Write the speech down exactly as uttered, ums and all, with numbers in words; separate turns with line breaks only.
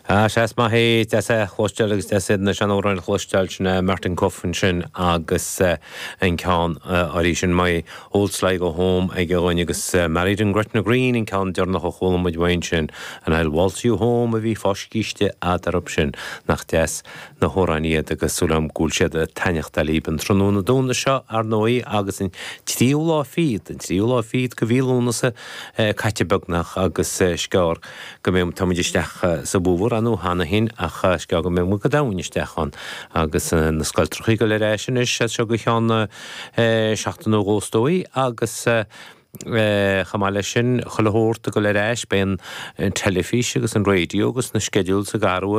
Ah seas maith é deas é chloisteáil agus deas na seanamhráin a chloisteáil sin Martin Coffin sin agus an ceann arís sin My Old Sligo Home ag a dhuine agus Married in Gretna Green an ceann deireanach a chuala muid uaidh sin an I'll Waltz You Home a bhí foscíiste eadarb sin nach deas na hamhráin iad agus súil agam go bhfuil siad ag taitneamh libh an tráthnóna Domhnaigh seo ar ndóigh agus an tríú lá fichead an tríú lá fichead de mhí Lúnasa caite beagnach agus sceár go mbeidh táimid isteach sa bhfómhar anú cheana féin ach sceár go mbeidh muid go domhain isteach ann agus na scoiltrachaí ag dul ar ais anois seo go ceann seachtain nó dhó is dóigh agus chomh maith leis sin chuile shórt ag dul ar ais beidh an teilifís agus an raidió agus na schedules ag athrú